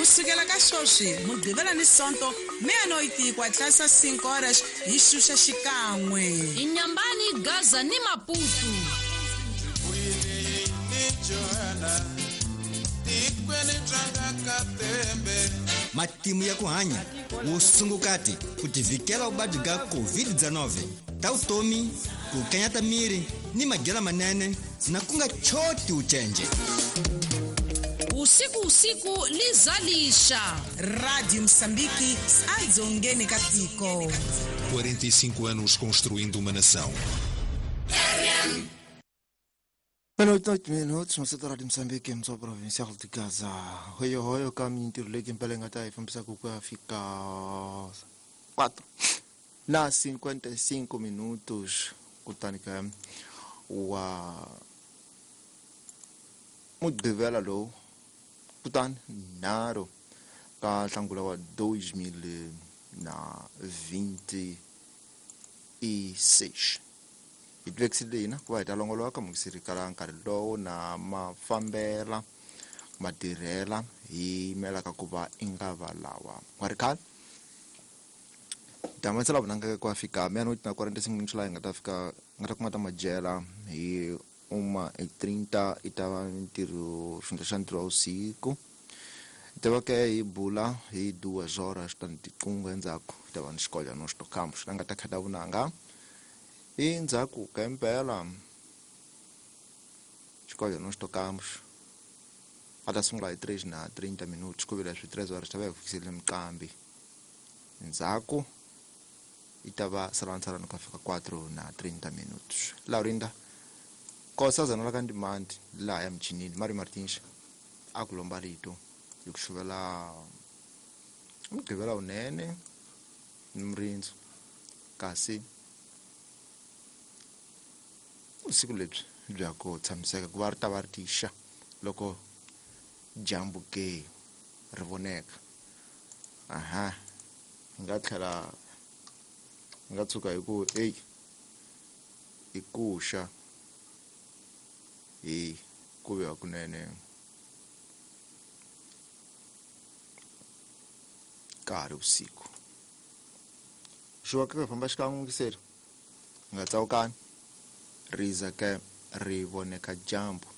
Kusukela ka sweswi Mugqivela ni Sonto meia-noite ku hatlisa 5 horas hi xuxa xikan'we. Inyambani, Gaza ni Maputo. Matimu ya ku hanya wusungukati ku tivhikela vuvabyi bya COVID-19 ta vutomi ku kanyata miri ni madyela manene na ku nga choti ucenje. Usiku usiku lizalisha. Rádio Moçambique, adzongeni ka tiko. 45 anos construindo uma nação. Meia-noite, 8 minutos, no Rádio Moçambique, mtso provincial de Gaza. Hoyo hoyo ka mintirho leyi impela yi nga ta hi fambisaka ku ya fika 4 na 55 minutos, kutani ka wa Mugqivela lowu, kutani 3 ka Nhlangula wa 2026, hi tivekisile hina ku va hi ta longoloka mukisiri kala nkarhi lowu na mafambela matirhela hi yimelaka ku va i nga va lawa nga ri khale damasela vunanga ku ya fika meia-noite na 45 minutos, laha hi nga ta fika nga ta kuma ta madyela hi 1:30. I ta va ntirho xihundla xa ntirho wa vusiku, hi ta va ke hi bula hi 2 horas tani tiqungo. Endzhaku hi ta va ni xikola no xitokhambo xi nga ta khata vunanga endzhaku ka impela xikola no xitokhambo a ta sungula hi 3 na 30 minutos, ku vile swi 3 horas ta va hi fikisile miqambi. Ndzhaku yi ta va salani ku fika 4 na 30 minutos. Laurinda Nkosazana la ka Ndimandi laha ya michinini Mario Martins a ku lomba rito hi ku xuvela Mugqivela wunene ni murindzu, kasi vusiku lebyi bya ku tshamiseka ku va ri ta va ri tixa loko dyambu ke ri voneka. Aha, hi nga tlhela hi nga tshuka hi ku eyi i ku xa hi ku ve hakunene ka ha ri vusiku xuwa ka famba xikan'we ngiseri nga tsawukani riza ke ri voneka dyambu.